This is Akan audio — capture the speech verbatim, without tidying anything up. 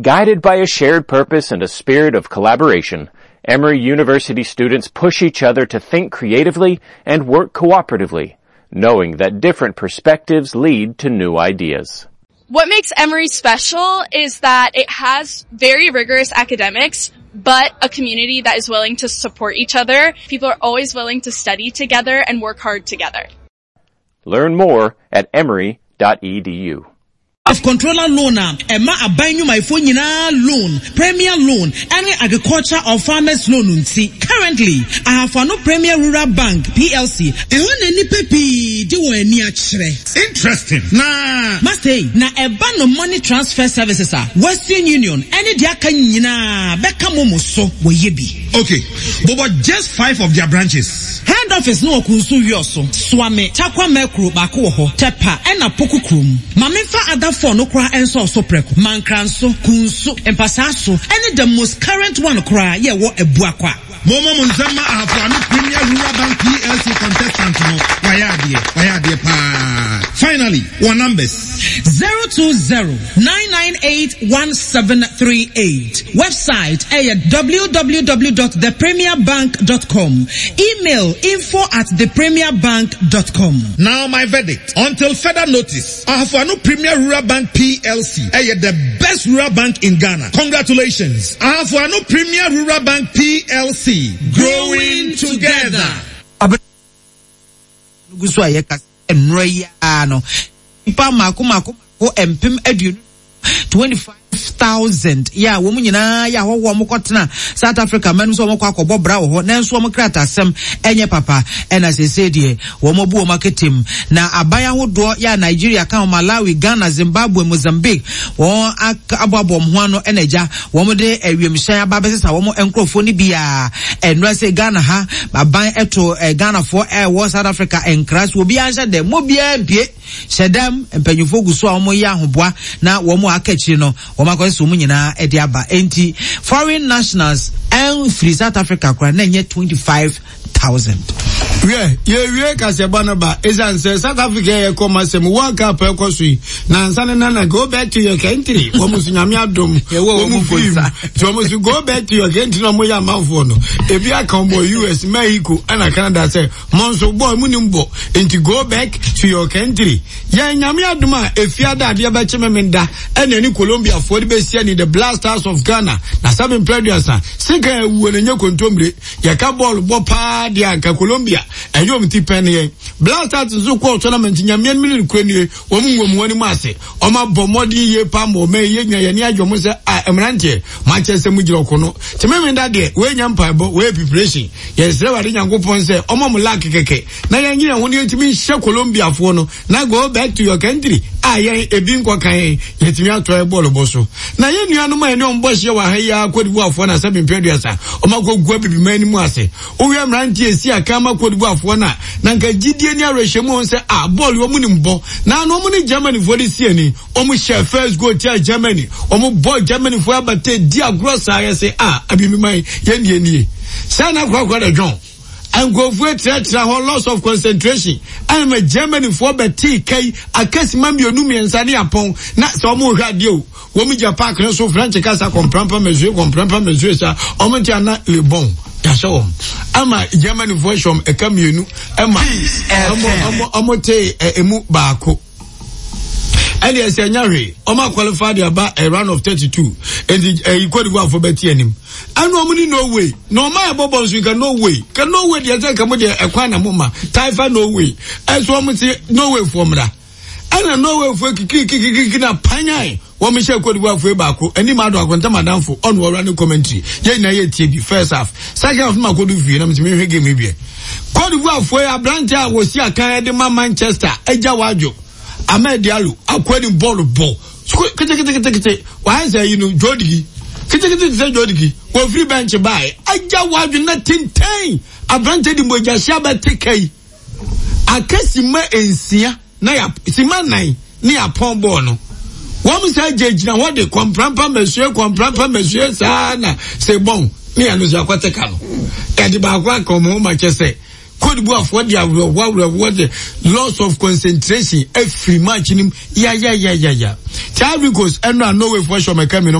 Guided by a shared purpose and a spirit of collaboration, Emory University students push each other to think creatively and work cooperatively, knowing that different perspectives lead to new ideas. What makes Emory special is that it has very rigorous academics, but a community that is willing to support each other. People are always willing to study together and work hard together. Learn more at emory dot e d u. Of controller loan a ɛma aban nnwumayɛfoɔ nyinaa loan, premier loan, ɛne agriculture or farmers loan nti. Currently, Ahafo-Ano Premier Rural Bank P L C ɛhɔ na nnipa pii de wɔn ani akyerɛ. Interesting. Na Master yi, na ɛba no money transfer services a Western Union ɛne deɛ aka nyinaa bɛka mo mo so wɔyɛ bi. Okay, but, but just five of their branches. Head office no wɔ Kunsu Wiɔso, Suame, Tarkwa Mɛkuro baako wɔ hɔ, Tepa ɛna Poku kurom. Maame nfa other four no koraa nso ɔso prɛko. Mankranso, Kunsu, Mpasaso ɛne the most current one koraa yɛ wɔ Abuakwa. Momo mo nsɛm ma Ahafo-Ano Premier Rural Bank P L C contestant no wayɛ adeɛ, wayɛ adeɛ paa. Finally, wɔn numbers. zero two zero nine nine eight one seven three eight. Website ɛyɛ w w w dot the premier bank dot com. Email info at the premier bank dot com. Now my verdict. Until further notice, Ahafo-Ano Premier Rural Bank P L C ɛyɛ the best rural bank in Ghana. Congratulations. Ahafo-Ano Premier Rural Bank P L C. Growing together. Gu so a yɛka nnora yi ara no, nipa mako mako mako mpem aduonu twenty five thousand yɛ a wɔn nyinaa yɛ ahɔhoɔ a wɔkɔtena South Africa mɛnum sɛ wɔn kɔ akɔbɔ bra wɔ hɔ, nanso wɔn kratasɛm ɛnyɛ papa, ɛna seesei deɛ wɔn abu wɔn aketem na aban ahodoɔ yɛ a Nigeria ka ho, Malawi, Ghana, Zimbabwe, Mozambique, wɔn aboaboa wɔn ho ano, ɛna agya wɔn de awiemhyɛn aba abɛsesa wɔn nkurɔfoɔ no biara. Ɛnura sɛ Ghana ha aban ɛto ɛ Ghanafoɔ ɛwɔ South Africa nkra so obiara nhyɛ dɛm mo biara mpie hyɛ dɛm. Mpanyinfoɔ gu so a wɔn yɛ ahoboa na wɔn a aka akyire no wɔn akɔsɛ sɛ wɔn nyinaa ɛde aba, enti foreign nationals ɛnfiri South Africa koraa na ɛnyɛ twenty five thousand. Wiɛ, yɛwie kasɛbɔ no ba ɛsiane sɛ South Africa yɛ kɔ ma sɛm World Cup ɛkɔ so yi na nsa ne nana "Go back to your country". Wɔn nso Nyame adom wɔn firi mu nti wɔn nso "Go back to your country" na wɔn yɛ amanfoɔ no ebi aka wɔn wɔ U S, Mexico ɛna Canada sɛ mo nso bɔɔl mu ni bɔ, nti go back to your country. Yɛn Nyame adom a efiada adeɛ bɛkye mɛmɛ da ɛna ɛne Colombia foɔ de bɛsia ni, the Black Stars of Ghana, na sábɛ mpɛ aduasa sika ewuo na nye kontomire. Yɛka bɔɔl bɔ paa deɛ anka Colombia ɛnyɛ wɔn ti pɛn yɛn. Black Stars nso kɔɔ tournament Nyame anim ne kura nie, wɔn nwom wɔn anim ase, wɔn abɔ mmɔden yie paa ma wɔn yɛ nyina yɛn ani agye wɔn sɛ a mmeranteɛ makyɛ sɛ mu gyina ɔko no tẹmɛ da deɛ wɔyɛ mpaebɔ, wɔyɛ preparation. Yɛsrɛ Wade Nyankopɔn sɛ ɔma mo luck kɛkɛ na yɛn nyina ho ne yɛntumi nhyɛ Colombiafoɔ no na "Go back to your country" a yɛn ebi nkɔ kan yɛn yɛtumi atɔ yɛ bɔɔlo bɔ so. Na yɛn nuanom a yɛne wɔn bɔ hyia wɔ ha yi a Cote d'Ivoirefoɔ na sɛbi mpɛ aduasa ɔmo akɔ gu abibiman anim ase. Wohwɛ mmeranteɛ esi aka ama Cote d'Ivoirefoɔ na na nka gyidie ne awerɛhyɛmu wɔn sɛ a bɔɔlo wɔn nim bɔ na ano wɔn ne Germanyfoɔ de si ani. Wɔn hyɛ first goal tia Germany, wɔn bɔ Germanyfoɔ abate di agorɔ saa yɛ sɛ a abibiman yɛn nie nie sɛ na korakora da dwɔn nkurɔfoɔ kyerɛkyerɛ hɔ, loss of concentration ɛna Germanyfoɔ bɛtee kai akasima mmienu mmiɛnsa ne apɔn. Na sɛ wɔn rehwɛ adeɛ o, wɔn gya park no so French kasa kɔmprampa mesue kɔmprampa mesue sa wɔn ti ana lebɔn yɛahyɛ wɔn ama Germanyfoɔ hyɛ wɔn ɛka mmienu ɛma ɔmo ɔmo tee ɛ emu baako. Ɛne ɛsɛ ɛnya hwee, ɔmo aqualify de aba ɛ round of thirty two, nti ɛyi Cote d'Ivoire fo bɛti anim ɛna ɔmo ni Norway na ɔmo ayɛ bɔbɔ nso nka Norway ka Norway deɛ sɛ nka mo deɛ ɛkwan na mo ma taifa Norway ɛso ɔmo ti Norway foɔ mmra ɛna Norway foɔ kikikikiki na panyan wɔn hyɛ Cote d'Ivoire foɔ baako anim ado akontam adanfo ɔno ɔwura ne commentary. Yɛn nyinaa yɛ tie bi first half, second half ma kodu fie na mo ti mi hwɛ game bi. Cote d'Ivoire foɔ yi aberante a wɔsi akan de ma Manchester agya wadwo Amad Diallo akɔ ni bɔɔlo bɔ ketekete wayɛ sɛ yi no jodigi ketekete te sɛ jodigi. Wɔfiri bench baeɛ agya wadwo na tenten aberante de mogya hyia bɛte kai aka sima nsia na ya sima nan ne yapɔn bɔɔl no. Wɔn sɛ gyinagyina hɔ de kɔmprampa mɛsue kɔmprampa mɛsue saa na sɛ bɔn ne yɛn no so akɔte ka no yɛde baako aka wɔn ho ma kyɛ sɛ Cote d'Ivoire de awerɛhoɔ awerɛhoɔ de loss of concentration afiri match nim yayayayaya. Ti Ivory Coast ɛno a Norway foɔ hyɛ ɔmɛka mi no.